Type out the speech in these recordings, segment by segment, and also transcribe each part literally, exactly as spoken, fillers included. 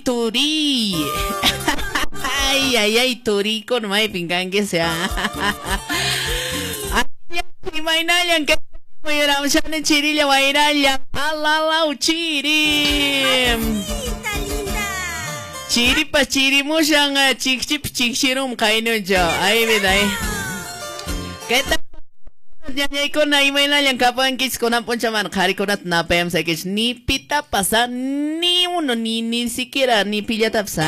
turi. Ay, ay, ay, turi con maypin kanki sea. Ay, imaynallan kay mayuramshani chirilla wayralla. Alalau chiri. Chiripas chirimushan chikchip chikchirum kaynuncho. Ay, vida, ay. ¿Qué tal? Ñañaykuna imaynallan kapankichis kunan p'unchaman qharikunata napayamsaykichis ni pitapas ni uno ni ni siquiera ni pillatapas.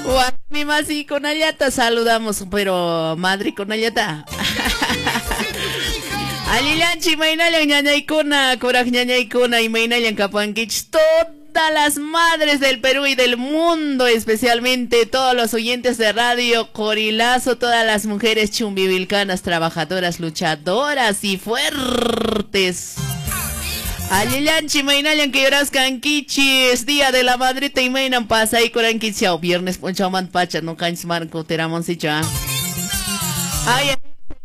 Warmi masikunallata saludamos, pero madrikunallata. Allillanchi imaynallan ñañaykuna, kuraq ñañaykuna imaynallan kapankichis todas las madres del Perú y del mundo, especialmente todos los oyentes de Radio Corilazo, todas las mujeres chumbivilcanas, trabajadoras, luchadoras y fuertes. Allillanchi imaynallan kayuraskankichis, Día de la Madrita imaynan pasaykurankichis, viernes p'unchawmanta pacha nuqanchis mana kutiramunsichu. Ay,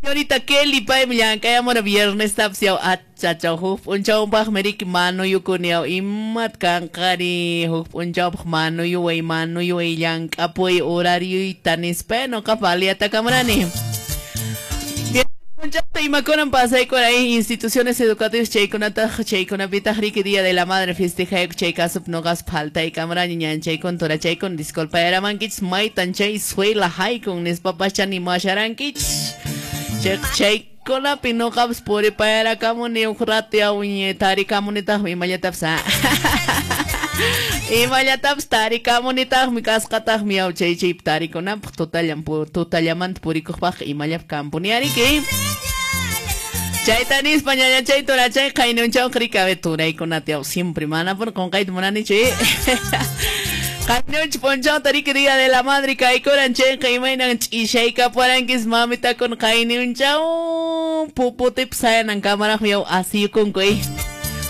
señorita Kelly paymi llank'ayamura viernes tapsiaw achachaw huk p'unchawpaqmi riki manuyukuni imat kanqari huk p'unchawpaq manuyuway manuyuway llank'apuy horarioyta nispa nuqapas aliatakamurani. P'unchawta imakunan pasaykura instituciones educativas chaykunataq chaykunapitaq riki Día de la Madre festejayku chay kasup nuqas phaltaykamurani ñanchaykun turachaykun disculpayaramankichis maytan chay suela haykun nispapacha nimasharankichis. Chaykunapi nuqapas puripayarakamuni huk rato yaw tarikamunitaqmi imallatapas imallatapas tarikamunitaqmi kasqataqmi yaw chay chaypi tarikunanpaq tutallan tutallamanta purikuqpaq imallap kampuni ariki. Chayta nispa ñañachay turachay qaynunchawqa riki turaykunata yaw siempre manapuni qunqayta munanichu. Qaynunchi p'unchawta riki Día de la Madre kaykuran chayqa imaynan ch'ishaykapuarankis mamitakuna qaynunchaw puputipi sayanankamaraqmi yaw asiyukunku.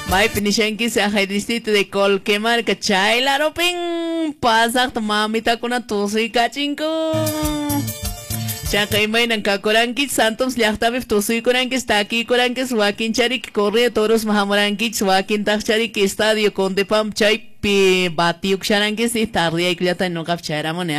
Maypi nishankis ajay distrito de Colquemarca chaylarupin pasaqta mamitakuna tusuykachinku. Chayqa imaynan kakurankichis Santoms llaqtapi tusuykurankichis takiykurankichis wakinchariki corrida torosman hamurankichis wakintaqchariki estadio Condepam chaypi batiyukusharankichis tardiyaykullata nuqapas chayramuni.